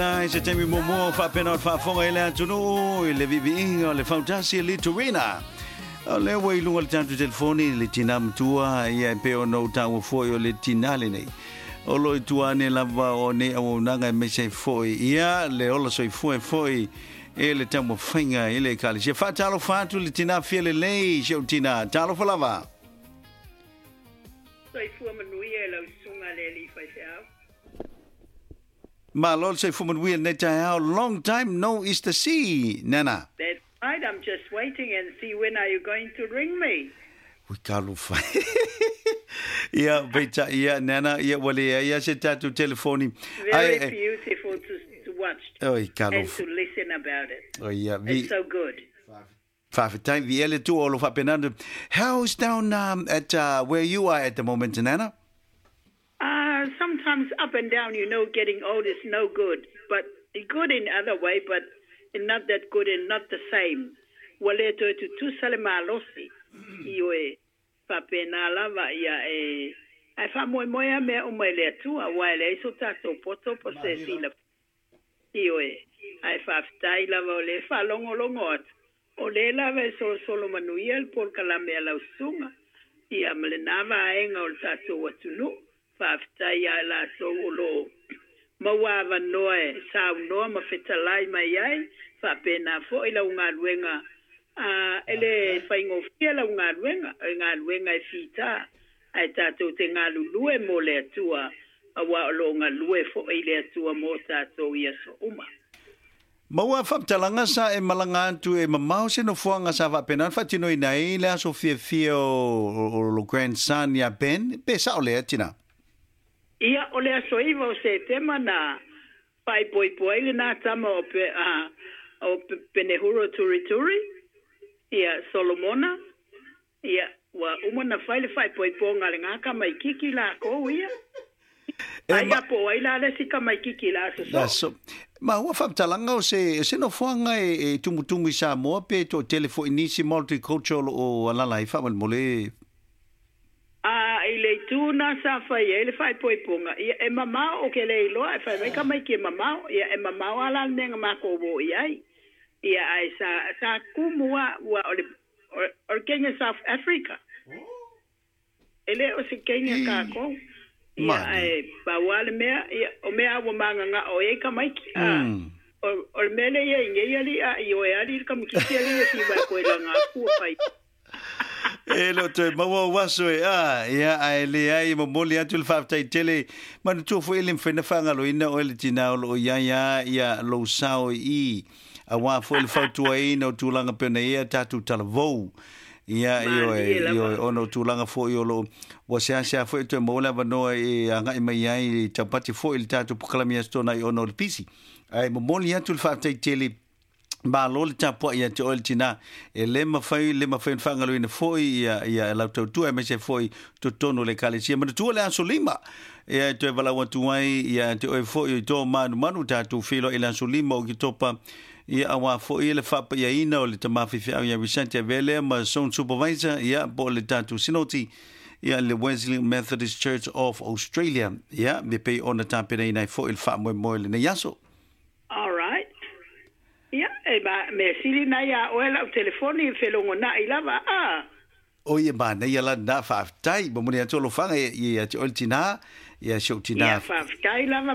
I se taimi muamua o faapena o le faafofoga i le atunuu i le viiviiga o le fautasi e Litorina. O lea ua i luga o le tatou telefoni le tinā matua, ia e pei ona ou taua foi o le tinā lenei. O lo o i tua ane lava o nei auaunaga aemaise ai foi ia le ola soifua e foi e le taumafaiga i le Ekalesia. Faatalofa atu le tinā fia lelei, si ou tinā. Talofa lava. Soifua manuia e lau susuga le alii faifeau. Malo le soifua manuia lenei taeao. Long time no is to see, Nana. That's right, I'm just waiting and see when are you going to ring me. Ui talofa e. Ia, peitai, ia, Nana, ia, ua leai lava se tatou telefoni. Very beautiful to watch Oi, and talofa. to listen about it. Oi, ia, vi. It's so good. Faafetai, viia le Atua o lo o faapena ona. How's down at where you are at the moment, Nana? Sometimes up and down, you know, getting old is no good, but good in other way, but not that good and not the same. Ua le toe tutusa le malosi, ioe, faapena lava ia e, ae faamoemoe lava mea uma i le Atua, aua e leai so tatou poto po se silafia. Ioe, ae faafetai lava o lea e faalogologo atu, o lea lava e solosolo manuia le polokalame a lau susuga, ia ma lena vaega o le tatou atunuu. Faafetai ia i latou o lo o maua avanoa e saunoa ma fetalai mai ai, faapena foi lau galuega, a e le faigofie lau galuega, o le galuega e fita, ae tatou te galulue mo le Atua, aua o lo o galue foi le Atua mo tatou i aso uma. Maua faamatalaga sa e malaga atu e mamao se nofoaga sa faapena ona faatinoina ai le aso fiafia o lo grandson ia Ben, pe sao lea tina? Ia, o le aso 9 o Setema na faaipoipo ai lena tama o pe, a, o Penehuro Turituri, ia, Solomona, ia, ua uma na fai le faaipoipoga a lena tamaititi lakou ia. E Ai ma, a po o ai la le isi tamaititi la aso la soo. so, ma ua faamatalaga o se, se nofoaga e, e tumutumu i Samoa pe toatele foi nisi multicultural o alala ai faamolemole. A i le itu na sa fai ai le faaipoipoga, ia e mamao, ou ke le iloa, e fai mai tamaiti e mamao, ia e mamao a la le mea na makou o i ai. Ia ae sa, sa kumu a, ua o le, o le kenya South Africa. E le o se kenya kakou. Ia ae pau a le mea, ia o mea a ua magagao ai tamaiti, a o, o le mea lea i ai nei alii a ioe alii le kamakiti alii e fiu ai koe laga atu ua fai. E le o toe maua ou aso e a, ia, ae leai e momoli atu le faafetai tele. Manatua foi e le mafai ona faagaloina oe le tinā o lo o i ai a ia lou sao i i, auā foi le fautuaina o tulaga pei ona i ai a tatou talavou. Ia, ioe, Malie lava. ioe, ona o tulaga foi o lo o, ua seasea foi e toe maua le avanoa e agai mai ai i taupati foi i le tatou polokalame i Aso Toonai ona o le pisi. Ae momoli atu le faafetai tele. Malo le tapuai ia te oe le tinā. E le mafai, le mafai ona faagaloina foi ia, ia lau tautua aemaise foi totonu o le Ekalesia. Manatua le aso 5, ia e toe valaau atu ai ia te oe foi i tō manumanu tatou feiloai i le aso 5 o Oketopa, ia auā foi le faapaiaina o le tama faifeau ia Vicente Avele ma Zone Supervisor, ia po o le tatou Sinoti, ia le Wesley Methodist Church of Australia, ia me pei ona tapenaina ai foi le faamoemoe i lenei aso. All right. Ia, e ma, mea sili na iā oe lau telefoni e felogonai lava, a. Oi e manaia la lena, faafetai. Momoli atu alofaga ia te oe le tinā, ia si ou tinā. Ia, faafetai lava.